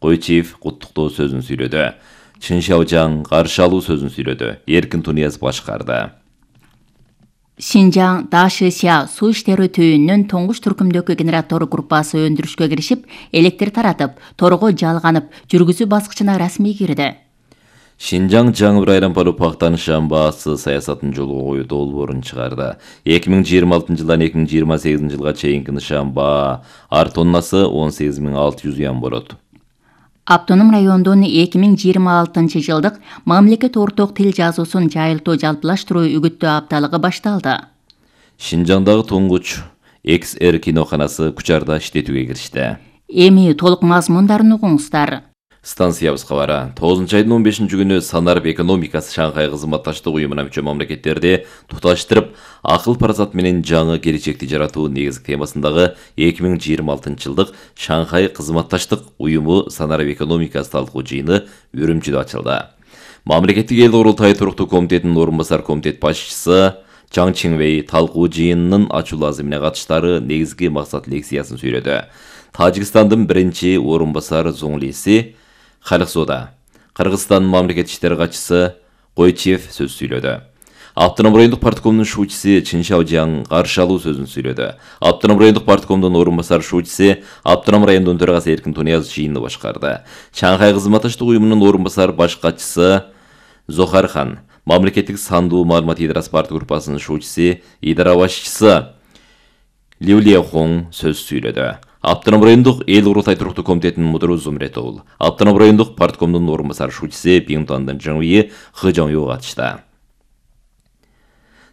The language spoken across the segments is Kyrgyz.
Койчиев куттуктоо сөзүн сүйлөдү. Чын Шаожаң каршы алуу сөзүн сүйлөдү. Эркин Тунияз башкарды. Шинжаң Дашися суу иштери түйүнүнүн тоңгуч түркүмдөгү генератор группасы өндүрүшкө киришип, электр таратып, торго жалганып, жүргүзүү баскычына расмий кирди. Шинжаң жаңы Райрампару пактанышан баасы саясатын жолго коюу долбоорун чыгарды. 2026 жылдан 2028 жылга чейинки нышан баа ар тоннасы 18600 юан болот. Автоном райондун 2026 жылдык мамлекет орток тил жазуусун жайылтуу жалпылаштыруу үгүттөө апталыгы башталды. Шинжаңдагы туңгуч XR киноканасы Кучарда иштетүүгө киришти. Эми толук мазмундарын угуңуздар. Станциябыз кабары 9 айдын 15 күнү Санарып экономикасы Шанхай кызматташтык уюмуна мүчө мамлекеттерди туташтырып, акыл парасат менен жаңы келечекти жаратуу негизги темасындагы 2026 жылдык Шанхай кызматташтык уюму Санарып экономикасы талкуу жыйыны Үрүмчүдө ачылды. Мамлекеттик эл курултай туруктуу комитетинин орун басар комитет башчысы Чаң Чинвей талкуу жыйынынын ачуулуу азымына катыштары негизги максат лекциясын сүйлөдү. Тажикстандын биринчи орун басар зоңлиси Халыксода, Кыргызстандын мамлекет иштери катчысы Койчиев сөз сүйлөдү. Автоном райондук парткомдун шуучусы Чын Шаожаң каршы алуу сөзүн сүйлөдү. Автоном райондук парткомдун орун басар шуучусы Автоном райондун төрагасы Эркин Тунияз жыйынды башкарды. Шанхай кызматташтык уюмунун орун басар баш катчысы Зохар Хан, мамлекеттик сандуу маалымат идарасы парт группасынын шуучусы идара башчысы Лю Лихоң сөз сүйлөдү. Автоном райондук эл курултай туруктуу комитетинин мудуру Зумретол, Автоном райондук парткомдун орун басар шуучусы Пиңтуандын Жаңуи Хыжаңю катышты.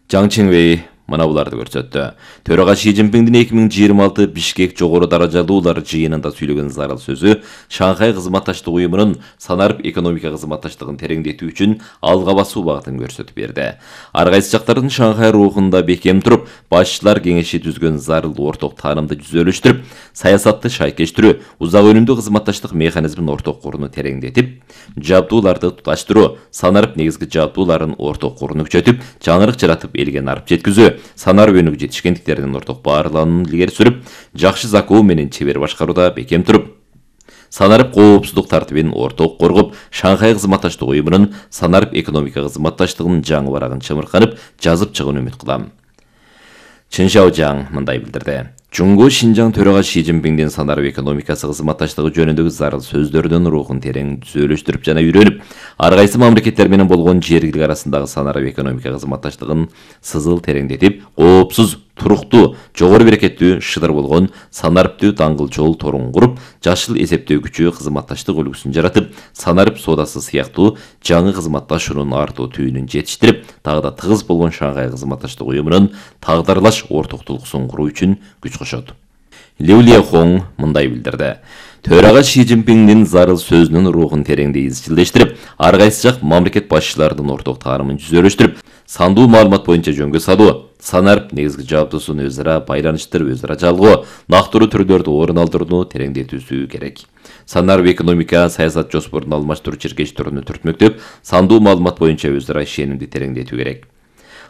Чаң Чинвей мына буларды көрсөттү. Төрага Ши Цзиньпиңдин 2026 Бишкек жогору даражалуулар жыйынында сүйлөгөн зарыл сөзү Шанхай кызматташтык уюмунун санарып экономика кызматташтыгын тереңдетүү үчүн алга басуу багытын көрсөтүп берди. Ар кайсы жактардын Шанхай рухунда бекем туруп, башчылар кеңеши түзгөн зарыл орток таанымды жүзөлөштүрүп, саясатты шайкештирүү, узак өнүмдүү кызматташтык механизмин орток куруну тереңдетип, жабдууларды туташтыруу, санарып негизги жабдууларын орток куруну күчөтүп, жаңырык жаратып элге нарып жеткизүү, санарып өнүгүп жетишкендиктеринин орток баарлануун илгери сүрүп, жакшы закуу менен чебер башкарууда бекем туруп, санарып коопсуздук тартибин орток коргоп, Шанхай кызматташтык уюмунун санарып экономика кызматташтыгынын жаңы барагын чымырканып, жазып чыгууну үмүт кылам. Чын Шаожаң мындай билдирди. Жуңгу Шинжаң төрага Ши Цзиньпиңдин санарып экономикасы кызматташтыгы жөнүндөгү зарыл сөздөрүнүн рухун терең түзөлүштүрүп жана үйрөнүп, ар кайсы мамлекеттер менен болгон жергилик арасындагы санарып экономика кызматташтыгын сызыл тереңдетип, коопсуз, туруктуу, жогору берекеттүү, шыдыр болгон санарыптуу даңгыл жол торун куруп, жашыл эсептөөгүчү кызматташтык үлгүсүн жаратып, санарып соодасы сыяктуу жаңы кызматташуунун артуу түйүнүн жетиштирип, дагы да тыгыз болгон Шанхай кызматташтык уюмунун тагдырлаш ортоктулугун куруу үчүн күч кошот. Лю Лихоң мындай билдирди. Төрага Ши Цзиньпиңдин зарыл сөзүнүн рухун тереңдей изчилдештирип, ар кайсы жак мамлекет башчыларынын орток таанымын жүзөлөштүрүп, сандуу маалымат боюнча жөнгө салуу, санарып негизги жабдуусун өзара өзара байланыштырып, өзара жалгоо, нактыруу түрлөрдү орун алдырууну тереңдетүүсү керек. Санарып экономика саясат жоспорун алмаштыруу чиркештөрүнү түртмөктөп, сандуу маалымат боюнча өзара ишенимди тереңдетүү керек.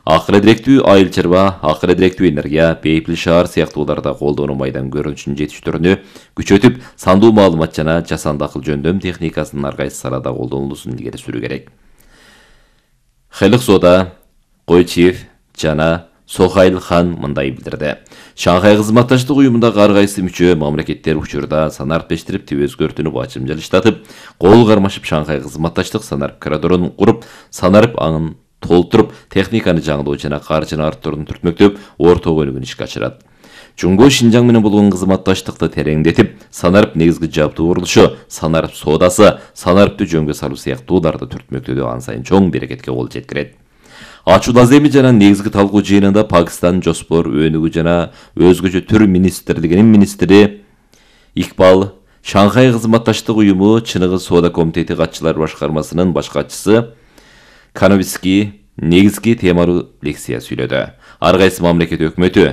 Акыры директүү айыл чарба, акыры директүү энергия, бейпил шаар сыяктууларда колдонуу майдан көрүнүшүнүн жетиштөрүнү күчөтүп, сандуу маалымат жана жасанды акыл жөндөм техникасынын ар кайсы салада колдонулуусун илгери сүрүү керек. Халыксода Койчиев жана Сохайл Хан мындай билдирди. Шанхай кызматташтык уюмундагы ар кайсы мүчө мамлекеттер учурда санарыптештирип, өзгөртүүнү бачымжалыштатып, кол кармашып Шанхай кызматташтык санарып коридорун куруп, санарып аңын толтуруп, техниканы жаңылоо жана каржыны арттырууну түртмөктөп, орток өнүгүүнү ишке ашырат. Жуңгу Шинжаң менен болгон кызматташтыкты тереңдетип, санарып негизги жабдуу курулушу, санарып соодасы, санарыптуу жөнгө салуу сыяктууларды түртмөктөдө ан сайын чоң берекетке кол жеткирет. Ачуу аземи жана негизги талкуу жыйынында Пакистан жоспор, өнүгүү жана өзгөчө түр министрлигинин министри Икбал, Шанхай кызматташтык уюму Чыныгыз соода комитети катчылар башкармасынын баш катчысы Кановицкий негизги темалуу лекция сүйлөдү. Ар кайсы мамлекет өкмөтү,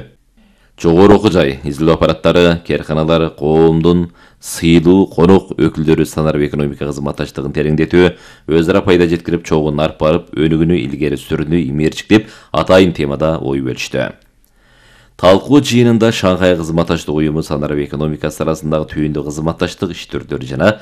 жогору окуу жай, изилдөө аппараттары, керканалар, коомдун сыйлуу конок өкүлдөрү санарып экономика кызматташтыгын тереңдетүү, өзара пайда жеткирип, чогун арып барып, өнүгүүнү илгери сүрүүнү имээрчиктеп, атайын темада ой бөлүштү. Талкуу жыйынында Шанхай кызматташтык уюму санарып экономикасы арасындагы түйүндүү кызматташтык иш түрдөрү жана